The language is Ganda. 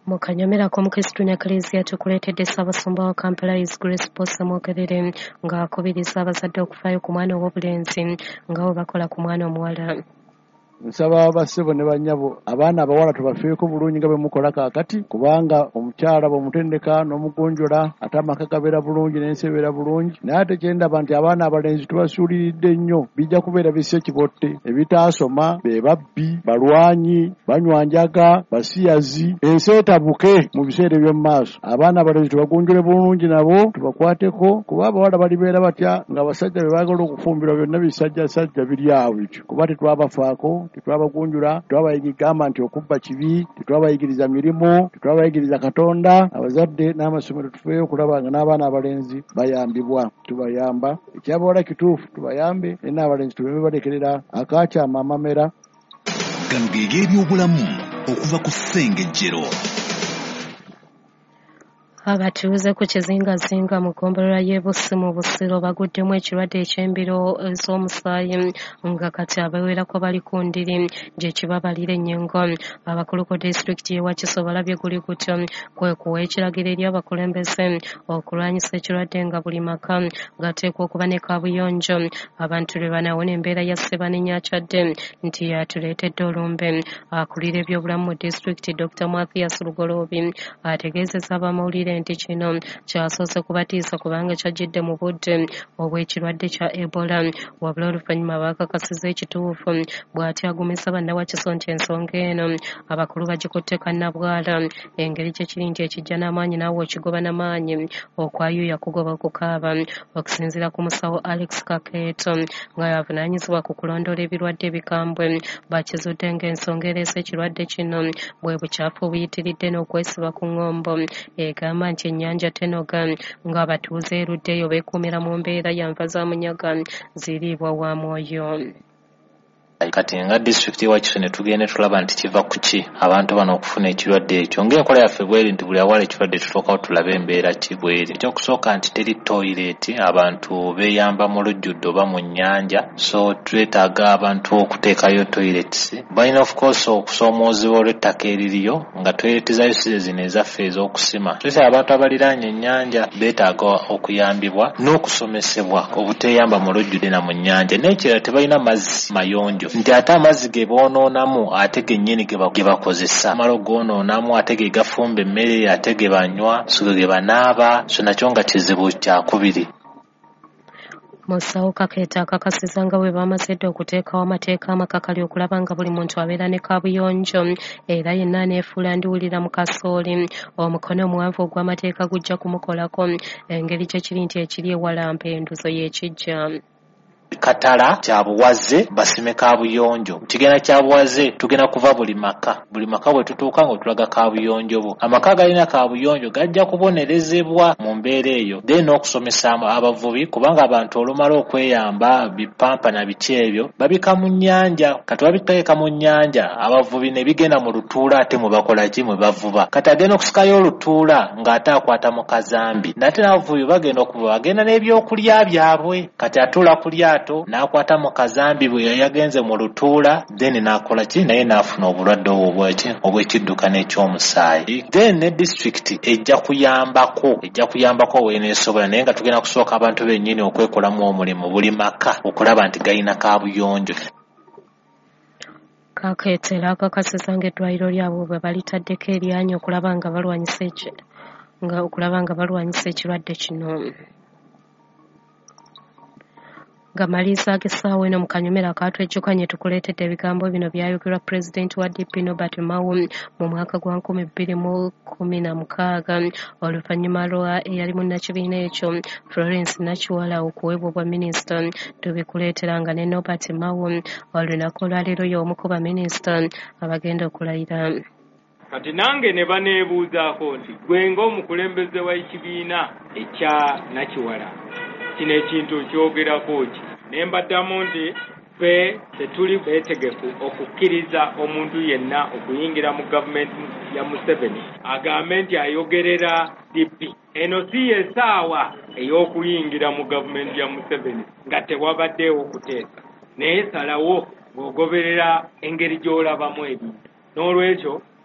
Mu kanyomero ak'omukristu ne Eklezia tukuleetedde Ssaabasumba wa Kampala His Grace Paul Ssemwogerere ng'akubiriza abazadde okufaayo ku mwana ow'obulenzi nga bwe bakola ku mwana omuwala. Nsaba bassebo ne bannyabo, abaana abawala tubafeeko bulungi nga bwe mukola kaakati, kubanga omukyala bw'omutendeka n'omugonjola ate amaka gabeera bulungi n'ensi ebeera bulungi. Naye ate kye ndaba nti abaana abalenzi tubasuuliridde nnyo, bijja kubeera bisse kibotte, ebitaasoma, be babbi, balwanyi, banywa njaga, basiyazi, ensi etabuke mu biseera eby'omu maaso. Abaana abalenzi tubagunjule bulungi nabo tubakwateko, kuba abawala balibeera batya ng'abasajja be baagala okufumbirwa byonna bisajjasajja biri awo bityo, kuba tetwabafaako, tetwabagunjula, tetwabayigamba nti okubba kibi, tetwabayigiriza mirimu, tetwabayigiriza Katonda. Abazadde n'amasomero tufeeyo okulaba nga n'abaana abalenzi bayambibwa, tubayamba. Ekyabawala kituufu tubayambe, naye n'abalenzi tubeme balekerera akakyama amamera. Gano ge g'ebyobulamu okuva ku Ssengejjero. Abatuuze ku kizingazinga mu ggombolola y'e Bussi mu Busiro baguddemu ekirwadde eky'embiro z'omusaayi nga kati abawerako bali ku ndiri gye kibabalira ennyingo. Abakulu ku disitulikiti y'e Wakiso balabye guli gutyo kwe kuwa ekiragiro eri abakulembeze okulwanyisa ekirwadde nga buli maka gateekwa okuba ne kaabuyonjo abantu lwe banaawona embeera ya Ssebanenya akyadde nti yatuleetedde olumbe. Akulira ebyobulamu mu disitulikiti Dr. Mathias Lugoloobi ategeezezza abamawulire nti kino kyasoose kubatiisa kubanga kyajjidde mu budde obw'ekirwadde kya Ebola, wabula oluvannyuma baakakasizza ekituufu. Bw'atyo agumisa bannawakiso nti ensonga eno abakulu bagikutte kannabwala, engeri gye kiri nti ekijja n'amaanyi naawe okigoba n'amaanyi, okwayuuya kugoba okukaaba. Okusinziira ku musawo Alex Kakeeto nga y'avunaanyizibwa ku kulondoola ebirwadde ebikambwe, bakizudde ng'ensonga ereese ekirwadde kino bwe bukyafu obuyitiridde n'okwesiba ku ŋŋombo. Egamba nti ennyanja tenoga ng'abatuuze eruddeyo beekuumira mu mbeera ya nva za munyaga ziriibwa wa mwoyo. Kati nga disitulikiti y'e Wakiso ne tugenda tulaba nti kiva ku ki abantu bano okufuna ekirwadde ekyo. Ng'enkola yaffe bw'eri nti buli awala ekirwadde tutuukawo tulabe embeera ki bw'eri. Ekyokusooka nti teri toyireeti, abantu beeyamba mu lujjudde oba mu nnyanja, so twetaaga abantu okuteekayo toilets. Balina of course okusoomoozebwa olw'ettaka eririyo nga toyireti zayo si ze zino ezaffe ez'okusima. Twetaaga abantu abaliraanye ennyanja beetaaga okuyambibwa n'okusomesebwa obuteeyamba mu lujjudde na mu nnyanja. N'ekirala tebalina mazzi mayonjo, nti ate amazzi ge boonoonamu ate gennyini ge bakozesa, amala ogoononamu ate ge gafumba emmere, ate ge banywa, so ge banaaba, so nakyo nga kizibu kyakubiri. Musawo Kakeeto akakasizza nga bwe bamaze dda okuteekawo amateeka amakakali okulaba nga buli muntu abeera ne kaabuyonjo, era yenna aneefuula ndiwulira mu kasooli omukono omuwanvu ogw'amateeka gujja kumukolako, engeri gye kiri nti ekiri ewala mpenduzo y'ekijja. Katala kyabuwaze basime kaabuyonjo, kigenda kyabuwaze tugenda kuva buli maka, buli maka bwe tutuuka ng'otulaga kaabuyonjo bwo. Amaka agalina kaabuyonjo gajja kubonerezebwa mu mbeera eyo. Then n'okusomesa abavubi, kubanga abantu olumala okweyamba bipampa na biki ebyo babika mu nnyanja, kati babiteeka mu nnyanja abavubi ne bigenda mu lutuula ate mwe bakola ki, mwe bavuba. Kati agenda okusikayo olutuula ng'ate akwata mu kazambi, nate n'abavubi bagenda okuvuba bagenda n'ebyokulya byabwe, kati atuula ku lyato n'akwata mu kazambi bwe yagenze mu lutuula, then n'akola ki, naye n'afuna obulwadde obwo obw'ekidduka n'ekyomusaayi. Then ne disitulikiti ejja kuyambako w'eneesobola, naye nga tugenda kusooka abantu bennyini okwekolamu omulimu buli maka okulaba nti galina kaabuyonjo. Kakeeto era akakasizza ng'eddwaliro lyabwe bwe balitaddeko eryanyi okulaba nga balwanyisa ekirwadde kino. Nga maliriza ag'essaawa eno mu kanyomero akatwejjukanye tukuleetedde ebigambo bino byayogerwa Pulezidenti wa DP Norbert Mao mu mwaka gwa 2016 oluvannyuma lwa eyali munnakibiina ekyo Florence Nakiwala okuweebwa obwa minisita. Tubikuleetera nga ne Norbert Mao olunaku olwaleero y'omu ku baminisita abagenda okulayira. Kati nange ne baneebuuzaako nti gwe ng'omukulembeze w'ekibiina ekya Nakiwala kino ekintu kyogerako ki? Ne mbaddamu nti ffe tetuli beetegefu okukkiriza omuntu yenna okuyingira mu gavumenti ya Museveni agambe nti ayogerera DP. Eno si y'essaawa ey'okuyingira mu gavumenti ya Museveni nga tewabaddeewo kuteesa, naye salawo ng'ogoberera engeri gy'olabamu ebintu. N'olwekyo